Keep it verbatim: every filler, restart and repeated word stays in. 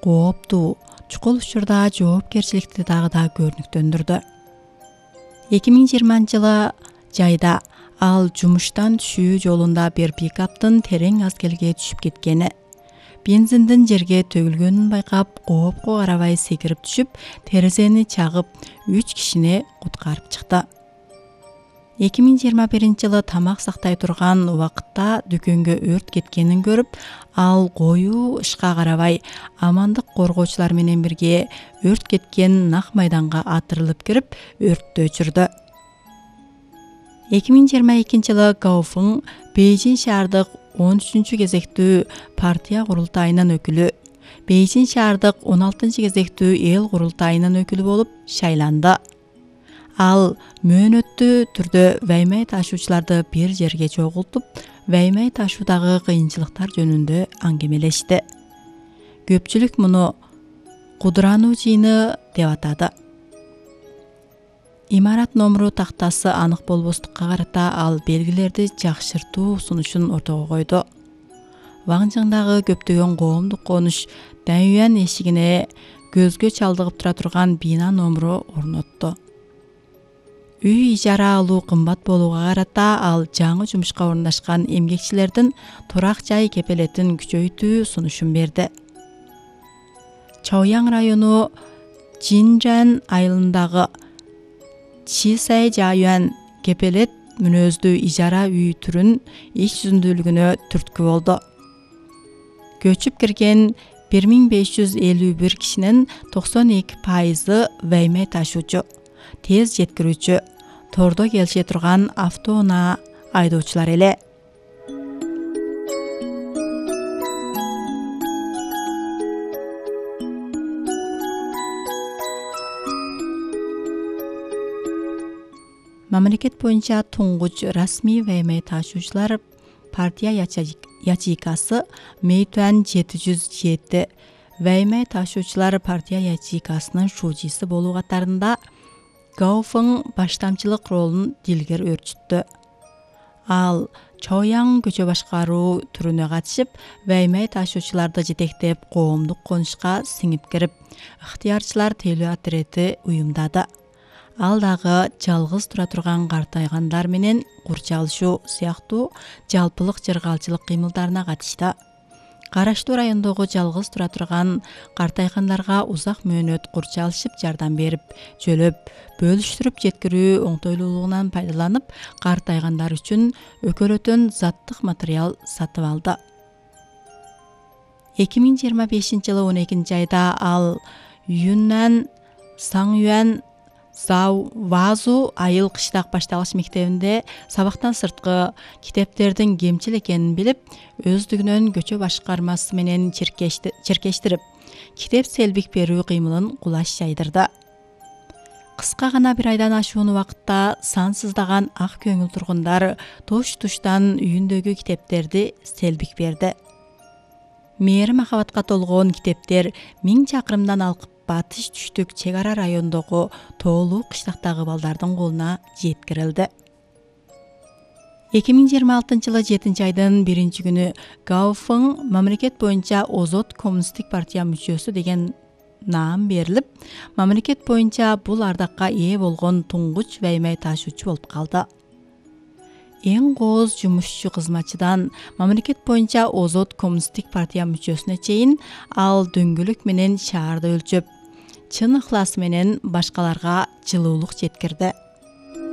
кооптуу, чукул учурда жоопкерчиликти дагы да көрүнүктөндүрдү. эки миң жыйырманчы жылы жайда ал жумуштан түшүү жолунда бир пикаптын терең азгелге түшүп кеткени, бензиндин жерге төгүлгөнүн байкап, коопко карабай секирип түшүп, терезени чагып, үч кишини куткарып чыкты. эки миң жыйырма биринчи жылы тамак сактай турган убакытта дүкөнгө өрт кеткенин көрүп, ал коюу ышка карабай, амандык коргоочулар менен бирге өрт кеткен нак майданга атырылып кирип, өрттү өчүрдү. эки миң жыйырма экинчи жылы Гаофың Бейжиң шаардык он үчүнчү кезектүү партия курултайынын өкүлү, Бейжиң шаардык он алтынчы кезектүү эл курултайынын өкүлү болуп шайланды. Ал мөөнөттүү түрдө ваймай ташуучуларды бир жерге чогултуп, ваймай ташуудагы кыйынчылыктар жөнүндө аңгемелешти. Көпчүлүк муну кудурануу жыйыны деп атады. Имарат номуру тактасы анык болбостукка карата ал белгилерди жакшыртуу сунушун ортого койду. Ваңжыңдагы көптөгөн коомдук конуш Дайюан эшигине көзгө чалдыгып тура турган бина номуру орнотту. Үй ижара алуу кымбат болууга карата ал жаңы жумушка орундашкан эмгекчилердин турак жай кепелетин күчөйтүү сунушун берди. Чаояң району Жинжан айылындагы Чисай Жаюан кепелет мүнөздүү ижара үй түрүн иш жүзүндүүлүгүнө түрткү болду. Көчүп кирген бир миң беш жүз элүү бир кишинин токсон эки пайызы ваймай ташуучу, тез жеткирүүчү, тордо келише турган автоунаа айдоочулар эле. Мамлекет боюнча туңгуч расмий ваймай ташуучулар партия ячейкасы Мэйтуан жети жүз жети ваймай ташуучулар партия ячейкасынын шуучусы болуу катарында Гаофың баштамчылык ролун дилгер өрчүттү. Ал Чаояң көчө башкаруу түрүнө катышып, ваймай ташуучуларды жетектеп, коомдук конушка сиңип кирип, ыктыярчылар тейлөө отряды уюмдады. Ал дагы жалгыз тура турган картайгандар менен курчалышуу сыяктуу жалпылык жыргалчылык кыймылдарына катышты. Караштуу райондогу жалгыз тура турган картайгандарга узак мөөнөт курчалышып жардам берип, жөлөп, бөлүштүрүп жеткирүү оңтойлуулугунан пайдаланып, картайгандар үчүн өкөлөтөн заттык материал сатып алды. эки миң жыйырма бешинчи жылы он экинчи айда ал Юннан Саңюан Зау Вазу айыл кыштак башталгыч мектебинде сабактан сырткы китептердин кемчил экенин билип, өздүгүнөн көчө башкармасы менен черкештирип, китеп селбик берүү кыймылын кулаш жайдырды. Кыска гана бир айдан ашуун убакытта сансыздаган ак көңүл тургундар тош-туштан үйүндөгү китептерди селбик берди. Мээри махабатка толгон китептер миң чакырымдан алкып батыш түштүк чек ара райондогу тоолуу кыштактагы балдардын колуна жеткирилди. эки миң жыйырма алтынчы жылы жетинчи айдын биринчи күнү Гаофың мамлекет боюнча Озот коммунисттик партия мүчөсү деген наам берилип, мамлекет боюнча бул ардакка ээ болгон туңгуч ваймай ташуучу болуп калды. Эң кооз жумушчу кызматчыдан мамлекет боюнча Озот коммунисттик партия мүчөсүнө чейин ал дөңгөлөк менен шаарды өлчөп, чын ыхласы менен башкаларга жылуулук жеткирди.